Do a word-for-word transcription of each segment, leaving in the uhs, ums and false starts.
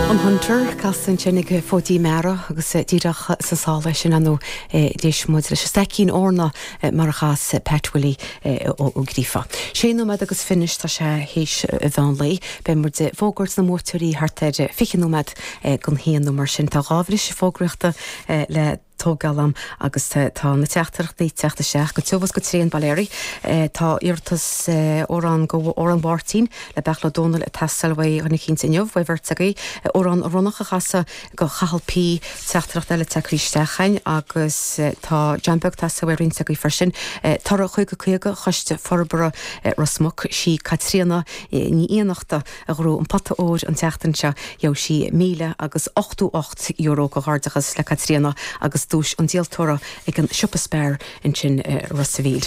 An Hunter casta ansin ag Fóidí Meara agus díreach sa sála sin anú d'éist muid leis Staicín Orna mar a chas Pat Willie Ó Gríofa. Sé nóiméad agus fiche tá sé théis mheán lae, beidh muid ag fógairt na mbuaiteoirí thart ar fiche nóiméad don haon nó mar sin tá dhá bhriseadh fógraíochta le tógáil am agus tá na teachtaireachtaí ag teacht isteach go tiubh is go tréan bail ó Dhia. Tá iarratas amhrán go amhrán Mháirtín le Beairtle Ó Domhnaill ag teastáil uaidh dhuine eicínt inniu, uaidh bheirt agaibh, amhrán Ronnach a chasadh go Chathal P teachtaireacht eile tagtha isteach chugainn agus tá John Beag teastáil uaidh roinnt agaibh freisin. Toradh caoga caoga Choiste Forbartha Ros Muc sí Caitríona Ní Fhiannachta a ghnóthaigh an pota óir an tseachtain seo gheobhaidh sí míle agus ochtó ocht euro comhghairdeachas le Caitríona agus duais an díoltóra ag an siopa Spar ansin Ros a' Mhíl.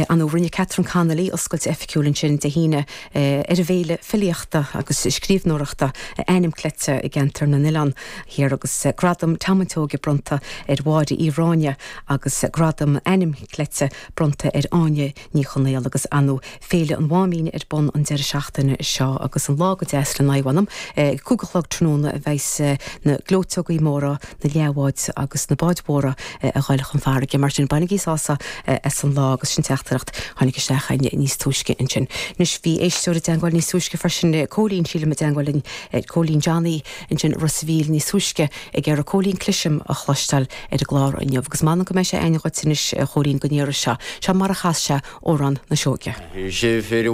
Anú rinne Catherine Connolly oscailt oifigiúil ansin Dé hAoine ar an bhféile filíochta agus scríbhneoireachta Ainm Cleite i gceantar na nOileán Thiar agus gradam Tamaitóige bronnta ar Mháire Uí Ráine agus gradam Ainm Cleite bronnta ar Áine Ní Chonaola agus anú Féile an Mháimín ar bun an deireadh seachtaine seo agus an lá go deas le naomhanam cúig a chlog tráthnóna a bheas na gleoiteogaí móra na leathbháid agus na báid mhóra a ghoil chun farraige mar sin bainigí sásamh as an lá agus sin teachtaireacht tháinig isteach níos túisce ansin. Anois bhí éisteoir i dteagmháil níos túisce freisin Cóilín sílim i dteagmháil linn Cóilín Johnny ansin Ros a' Mhíl níos túisce ag iarraidh Cóilín Cloisim a chloisteáil ar an gclár inniu agus m'anam go mbeidh sé againn dhuit anois Chóilín go n-iarraidh seo seo mar a chas sé amhrán na Sióige. sé